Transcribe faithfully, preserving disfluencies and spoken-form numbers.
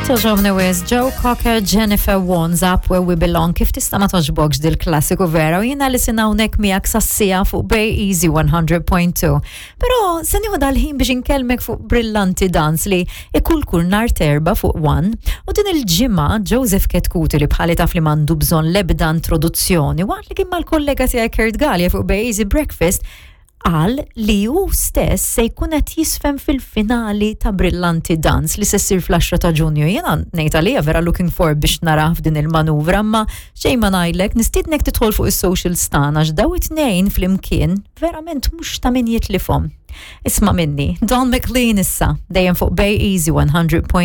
Togħġobni wisq, Joe Cocker, Jennifer Warnes, Up Where We Belong, kif tista' ma togħġbokx dil-klassiku vera, u jiena li sina hawnhekk miegħek sas-siegħa fuq Bay Easy one hundred point two. Però se nieħu dal-ħin biex inkellmek fuq Brillanti Dance li ikun kull nhar t'Erbgħa fuq One, u din il-ġimgħa Joseph Chetcuti, li bħali taf li m'għandu bżonn lebda introduzzjoni, waqt li kien mal-kollega tiegħi Kurt Galea fuq Bay Easy Breakfast, qal li hu stess se jkun qed jiżfen fil-finali ta' Brillanti Dance li se ssir fl-għaxra ta' Ġunju. Jiena ngħid għalija vera looking forward biex narah f'din il-manuvra, ma xejn ma ngħidlek, nistiednek tidħol fuq is-social tagħna għax daw it-tnejn flimkien verament mhux ta' min jitlifhom. Isma' minni, Don McLean issa, dejjem fuq Bay Easy one hundred point two.